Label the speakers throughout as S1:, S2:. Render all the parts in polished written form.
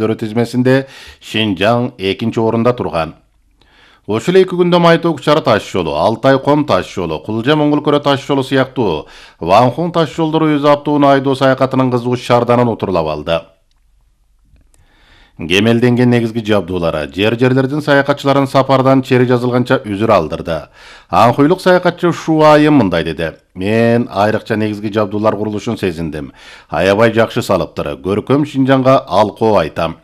S1: тизмесинде Шинжаң 2-орунда турган. Ошол 2 күндө Майток Чара таш жолу, Алтай-Ком таш жолу, Кулжа-Моңгул-Көрө таш жолу сыяктуу Ванхун таш жолдору өз аптууну айдоо саякатынын кызуу шаарданын отурлап алды. Кемелденген негизги жабдуулары жерлердин саякатчыларын сапардан чери жазылганча үзүр алдырды. Анхуйлук саякатчы Шуайым мындай деди: "Мен айрыкча негизги жабдуулар курулушун сезиндим. Аябай жакшы салыптыр. Көркөм Шинжаңга алкоо айтам."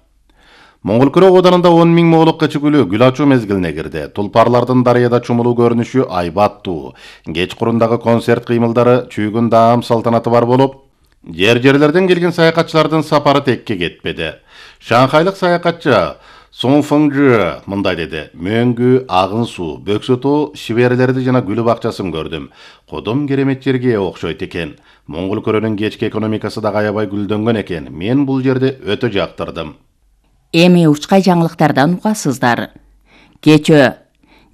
S1: Моңгул-Көрө оданында 10 000 моолук кычыгүлү гүл ачуу мезгилине кирди. Тулпарлардын дарыяда чумулуу көрүнүшү айбаттуу. Кечкурундагы концерт кыймылдары, чүйгүн даам салтанаты бар болуп, жерлерден келген саякатчылардын сапары текке кетпеди. Шанхайлык саякатчы Сон Фыңжы мындай деди: "Мөңгү, агын суу, бөксөтөө, шиберлерди жана гүл бакчасын көрдүм. Кодом керемет жерге окшойт экен. Моңгул-Көрөнүн кечки экономикасы да аябай гүлдөнгөн экен. Мен бул жерди өтө жактырдым."
S2: Эми учкай жаңылыктардан угасыздар. Кечөө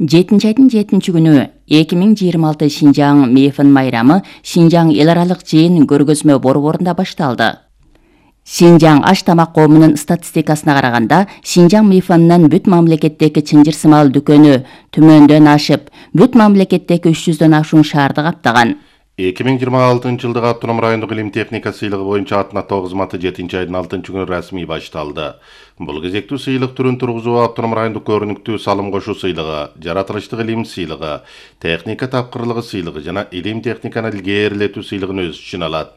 S2: 7-айдын 7-күнү 2026 Шинжаң Мейфин майрамы Шинжаң эл аралык жыйын көргөзмө борборунда башталды. Шинжаң аш тамак коомунун статистикасына караганда, Шинжаң Мейфиннин бүт мамлекеттеги чынжыр сымал дүкөнү түмөндөн ашып, бүт мамлекеттеги 300дөн ашуун шаарды каптаган.
S1: 2026-жылдык автоном райондук илим техника сыйлыгы боюнча атнаттоо кызматы 7-айдын 6-күнү расмий башталды. Бул кезектүү сыйлык түрүн тургузуу автоном райондук көрүнүктүү салым кошуу сыйлыгы, жаратылыштык илим сыйлыгы, техника тапкырлыгы сыйлыгы жана илим техниканы илгээрилетүү сыйлыгын өз ичине алат.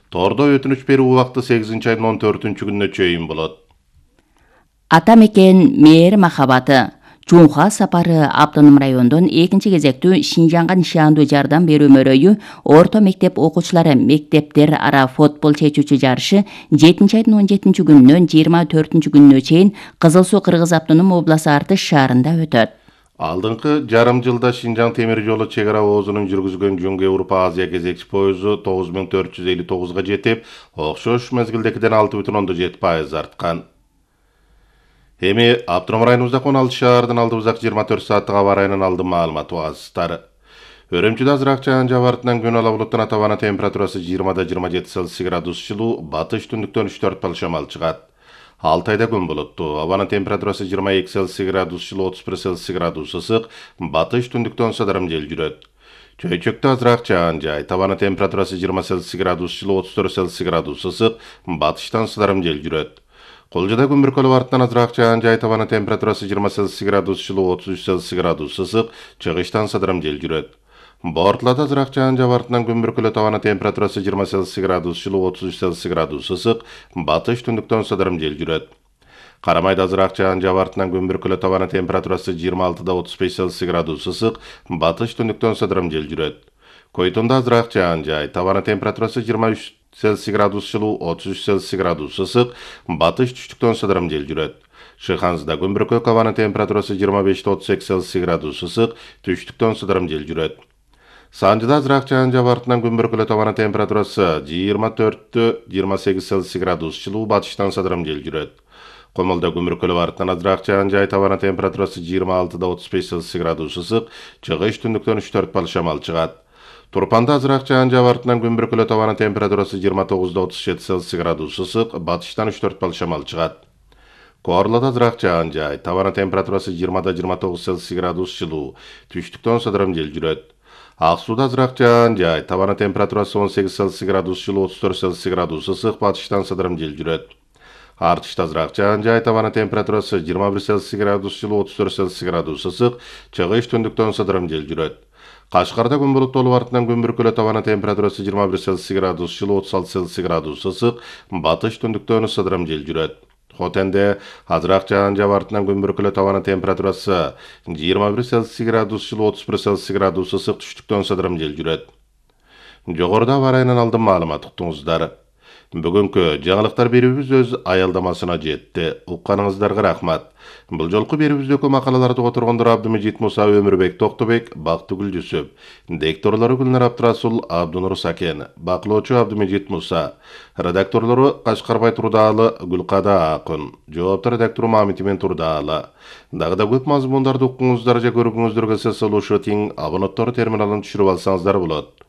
S1: Тордо өтүнүч берүү убакыты 8-айдын 14-күнүнө чейин болот.
S2: Ата мекен мээр махабаты Чуңха сапары автоном райондун 2 кезектүү Шинжаңга нишандуу жардам берүү мөрөйү орто мектеп окуучулары мектептер ара футбол чечүүчү жарышы 7-айдын 17-күнүнөн 24-күнүнө чейин Кызыл Суу Кыргыз автоном обласы Артыш шаарында өтөт.
S1: Алдыңкы жарым жылда Шинжаң темир жолу чек ара оозунун жүргүзгөн Жөнгө Европа Азия кезекчи поезу 9459га жетип, окшош мезгилдекиден 6,7% арткан. Эми автоном районубузда 16 шаардын алдыбызак 24 сааттык аба ырайынын алдын маалыматы угасыздар. Өрөмчүдө азыраак жаан жабартынан күн ала булуттун атабана температурасы 20-27 Цельсий градус жылуу, батыш түндүктөн 3-4 шамал чыгат. Алтайда күн булуттуу, абанын температурасы 22 Цельсий градус жылуу, 31 Цельсий градус ысык, батыш түндүктөн садарым жел жүрөт. Чөйчөктө азыраак жаан жай, табанын температурасы 20 Цельсий градус жылуу, 34 Цельсий градус ысык, батыштан садарым жел жүрөт. Колжада күн бүркөлүп артынан азыраак жаан жай, табанын температурасы 20 Цельсий градус жылуу, 33 Цельсий градус ысык, чыгыштан садарым жел жүрөт. Бортулада азыраак жаан жаап артынан күн бүркөлүп табанын температурасы 20 Цельсий градус жылуу, 33 Цельсий градус ысык, батыш түндүктөн садарым жел жүрөт. Карамайда азыраак жаан жаап артынан күн бүркөлүп табанын температурасы 26-35 Цельсий градус ысык, батыш түндүктөн садарым жел жүрөт. Койтонда азыраак жаан жай, табанын температурасы 23 Цельсий градус жылуу, 33 Цельсий градус ысык, батыш түштүктөн садарым жел жүрөт. Шыханзыда күн бүркөлүп абанын температурасы 25-38 Цельсий градус ысык, түштүктөн садарым жел жүрөт. Санжыда азыраак жаан жаап артынан күн бүркөлүп абанын температурасы 24-28 Цельсий градус жылуу, батыштан садарым жел жүрөт. Комолдо күн бүркөлүп артынан азыраак жаан жай, табанын температурасы 26-35 Цельсий градус ысык, чыгыш түндүктөн 3-4 шамал чыгат. Турпанда азыраак жаан жаап артынан күн бүркөлүп абанын температурасы 29-37 Цельсий градус ысык, батыштан 3-4 шамал чыгат. Коорлоодо азыраак жаан жай, табанын температурасы 20-29 Цельсий градус жылуу, түштүктөн садарым жел жүрөт. Ак сууда азыраак жаан жай, табанын температурасы 18 Цельсий градус жылуу, 34 Цельсий градус ысык, батыштан садарым жел жүрөт. Артышта азыраак жаан жай, табанын температурасы 21 Цельсий градус жылуу, 34 Цельсий градус ысык, чыгыш түндүктөн садарым жел жүрөт. Кашкарда күн булуттуу артынан күн бүркөлүп табанын температурасы 21 Цельсий градус жылуу, 36 Цельсий градус ысык, батыш түндүктөн садарым жел жүрөт. Хотенде азыраак жаан жаап артынан күн бүркөлүп табанын температурасы 21 Цельсий градус жылуу, 31 Цельсий градус ысык, түштүктөн садарым жел жүрөт. Жогоруда аба ырайынын алдын маалымат уктуңуздар. Бүгүнкү жаңылыктар берүүбүз өз аялдамасына жетти. Укканыңыздарга рахмат. Бул жолку берүүбүздөгү макалаларды которгондор Абдымежит Муса, Өмүрбек Токтобек, Бактыгүл Жүсүп. Дикторлору Гүлнар Абдрасул, Абдунур Сакен. Бакылоочу Абдымежит Муса. Редакторлору Кашкарбай Турдаалы, Гүлкада Акын. Жоопту редактору Мамитимен Турдаалы. Дагы да көп мазмундарды уккуңуздар же көргүңүздөр келсе, слушать абоненттор терминалын түшүрүп алсаңыздар болот.